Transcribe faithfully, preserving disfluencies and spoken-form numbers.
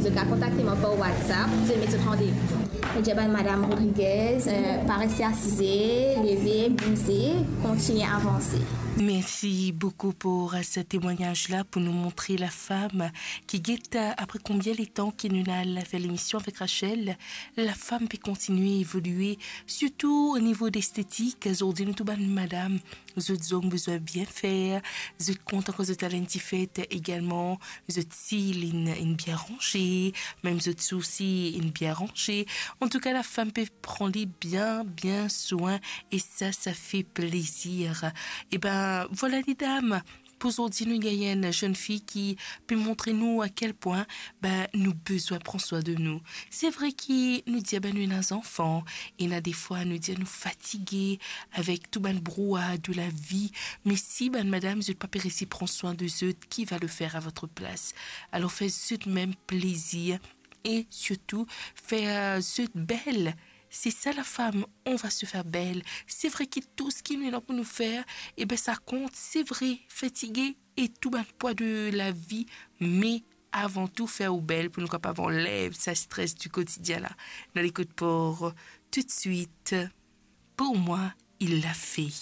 Zot kapav kontakte mwa par WhatsApp, zot met zot randevou. Mo dir bann madam Rodriguez, euh, pa reste asize, leve, bouze, kontigne avanse. Merci beaucoup pour ce témoignage-là, pour nous montrer la femme qui guette, euh, après combien de temps que nous avons fait l'émission avec Rachel, la femme peut continuer à évoluer, surtout au niveau d'esthétique. Zordi nou tou bann madam, zot zong bizin bien fer, zot kontan kan zot al enn ti fet egalman, zot sil inn, inn bien ranze, mem zot sousi inn bien ranze. Antouka, la femme peut prendre bien, bien soin et ça, ça fait plaisir. Eh ben, voilà les dames. Pou zordi nou gagn enn jeune fille ki pe montre nou a kel pwin, ben, nou bizin pran swin de nou. Se vre ki nou dir, ben, nou ena zanfan, ena defwa nou dir nou fatige avek tou bann brouar de la vie, me si bann madam zot pa pe resi pran swin de zot, qui va le faire à votre place? Alors faites zot mem plezir e sirtou fer zot bel. C'est ça la femme, on va se faire belle. Se vre ki tou seki nou ena pou nou fer, e ben sa kont, se vre, fatige e tou bann pwa de la vie, me avan tou fer ou bel pou nou kapav anlev sa stres du quotidien la. Nou al ekout pou tout de suite. Pour moi, il l'a fait.